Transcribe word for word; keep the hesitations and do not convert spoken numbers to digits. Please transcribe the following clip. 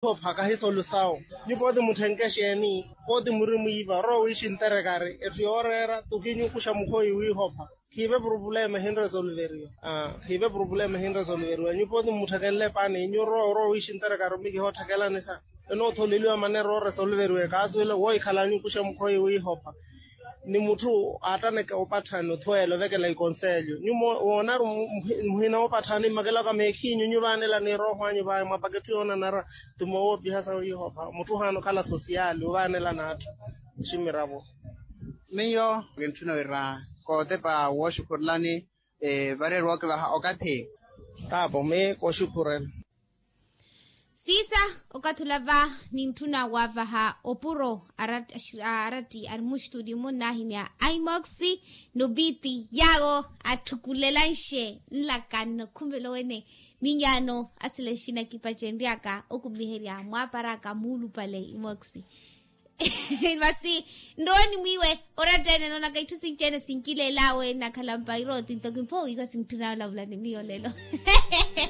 Opha kahisolusawo. Nyupo ti mutthenke xeeni? Poti muri mwiipa orowa wiixi nterekari etthu yooreera tuki nyukuxa mukhoyi wiihopha. Khiive purupulema ehinresolveriwa. Khiive purupulema ehinresolveriwa nyupo ti mmutthekenle pani nyurowa orowa wiixi nterekari omi kihootthakelani sa enootholeliwa manera ooresolveriwa ekaasuwela wohikhala nyukuxa mukhoyi wiihopha. Ni mutthu aattaneke opatthani othweela ovekela ikonselyo nyumo woonaru muhina opatthani mmakelaka meekhiinyu nyuvaanelani erooho anyu vaya mwa paketthi yoonanara. Ti moowoopiha sa wiihopha mutthu ohaana okhala sosiyali ovaanelana atthu. Ximiravo. Miyo kintthuna wira kootepa wooxukhurelani vareeri wookivaha okathi. Taapo mi kooxukhurela. Siisa okathi olava nintthuna waavaha opuro aratti arimuxtudi munnahimya aimoxi nopiti yaawo atthukulelanxe nlaka nnokhumelo wene. Minyaano asila exina kipacenryaka okumiherya mwaaparaka muulupale imoxi. Masi nroweni mwiiwe oratta ene noonaka itthu sinci-ene sinkileel'awe nakhala mpairo tinto kimphowiiwa sintthuna olavula ni miyo lelo.